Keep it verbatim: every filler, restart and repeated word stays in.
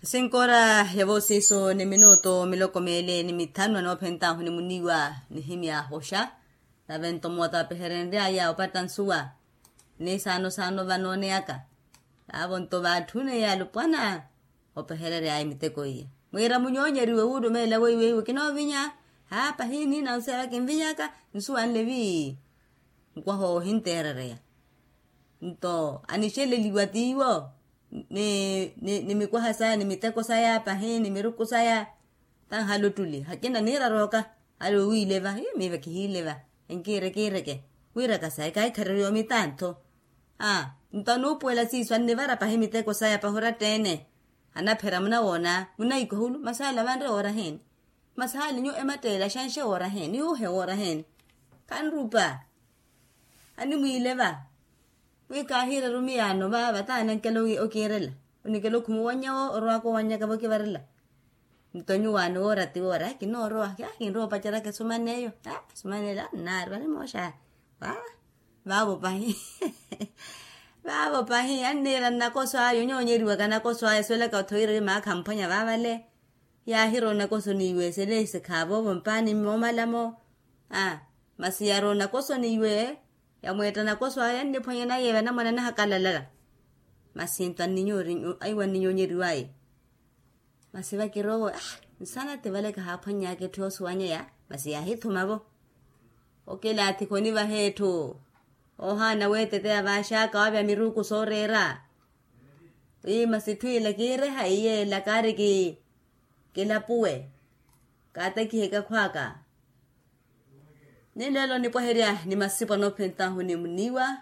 Sinkoora ya voosiiso ni minuto miloko meele ni mithanu anoophentahu ni muniiwa nihimya hoxa. Nave nto moota vapeherenry'aya opatta nsuwa ni saano saano vanooneyaka. Vaavo nto vaatthune yaalupwana opeherery'aya miteko iya, mwiira munyoonyeriwe wuulumeela weiweiwe kinoovinya. Haa pahi niina nseera kinvinyaka nsuwanle vi. Nkwaha ohinteerereya nto anixeleliwa tiiwo ni mikwaha saya ni miteko saya pahi ni miruku saya. Tanhala ottuli hakina niira rooka. Ale owiileva miiva kihiileva enkiire kiireke wiiraka saya kaikharerya omitantho. Aa nto anuupuwela siiso annivara pahi miteko saya pahi oratta-ene. Anaphera munawoona munaikwa hulu masi ale avanre woora heeni? Masi ale nyuwo ematteela xanxe woora heeni yuuhe woora heeni? Khanrupa animwiileva. Wi kaahiireru miyaano vaava taanankela okiirela onikela okhuma owannya wo orowaka owannyaka vokivarela. Nto nyuwaano woora ti woora kinoorowa kaakinrowa opaceraka esuman'eyo. Esuman'eyo annaari vari mooxa. Vaavo pahi vaavo pahi anniira nnakoso aya onyoonyeriwaka nakoso aya esuwelaka othowiira ori maakha amphwanya vaavale. Yaahirowa onakoso n'iwe seleesikhaavo vompaani moomalamo. Masi yarowa onakoso n'iwe yamweetta nakoso aya anniphwanya naye vanamwane anahakalala. Masi nto anninyoori aiwa anninyoonyeriw'aya. Masi vakirowa nsanati vale kahaaphwanny'aka etthu yoosuwanyeya. Masi yaahithuma-vo okilaathi khonivaha etthu. Oohaana weeteteya vaaxaka waavya miruku sooreera. Wi masi etthu ila kiireha iye ila kaari kilapuwe kaatakiheke akhw'aka. Ni leelo onipwaherya ni masipo anoophentahu ni muniiwa.